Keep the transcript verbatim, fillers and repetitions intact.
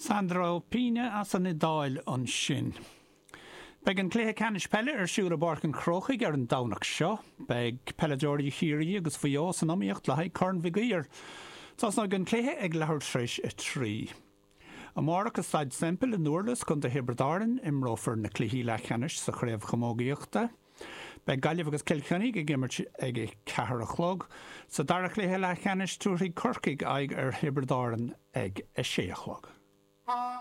Sandro Pina as an Iodáil ansin. Beidh an cluiche ceannais peile ar siúl i bPáirc an Chrócaigh ar an Domhnach seo. Beidh peileadóirí Chiarraí agus Mhaigh Eo san iomaíocht le haghaidh Corn Mhig Uidhir. Tosnóidh an cluiche ag leathuair tar éis a trí. Amárach i Staid Semple i nDurlas, Contae Thiobraid Árann, imreofar na cluichí leathcheannais sa chraobh chamógaíochta. Beidh Gaillimh agus Cill Chainnigh ag imirt ag a ceathair a chlog. Sa dara cluiche leathcheannais tabharfaidh Corcaigh aghaidh ar Thiobraid Árann ag a sé a chlog.